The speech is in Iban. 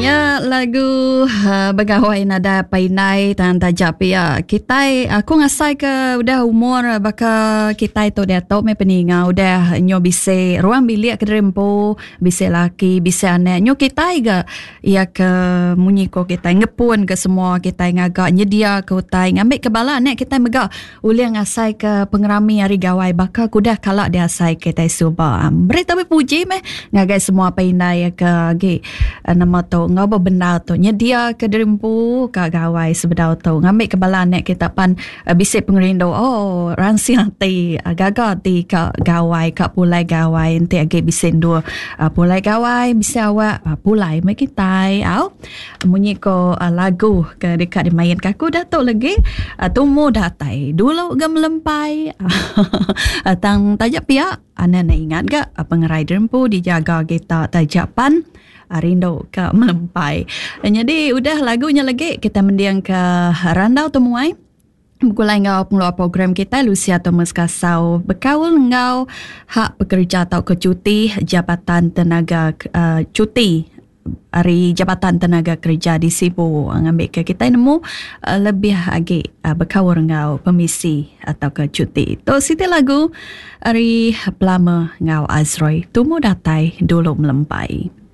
Nya lagu uh, begawai nada painai tan taja pia. Kitai aku ngasai ke udah umur baka kitai tu diatu meh peninga udah nyo bisi ruang bilik ke diri empu, bisi laki, bisi anak. Nyo kitai ga iya ke munyi ko kitai ngepun ke semua kitai ngaga nyedia ke utai ngambi ke bala anak kitai mega ulih ngasai ke pengerami hari gawai baka ke udah kala diasai kitai suba. Beri tabi puji meh ngagai semua apai indai ke agi eh, nama tu enggau bebendar tu nyedia ke diri empu ka gawai sebedau tu ngambi ke bala anak kita pan eh, bisi pengerindu oh ransing ati eh, gaga ati ka gawai ka pulai gawai enti agi bisi endur pulai gawai bisi awak pulai meh kitai au. Munyi ko lagu ke deka dimain ka aku dah tu legi tumu datai dulu ga melempai tang taja pia anak enda ingat ga pengerai diri empu dijaga kita taja pan rindu ka melempai. Nyadi udah lagu nya legi kita mending ka randau temuai begulai enggau pengeluar program kitai Lucia Thomas Kasau bekaul enggau hak pekerja tauka cuti Jabatan Tenaga uh, cuti ari Jabatan Tenaga Kerja di Sibu ngambika kitai nemu uh, lebih agi uh, bekaul enggau pemisi atauka cuti. Tu siti lagu ari Plummer enggau Azroy tumu datai dulu melempai.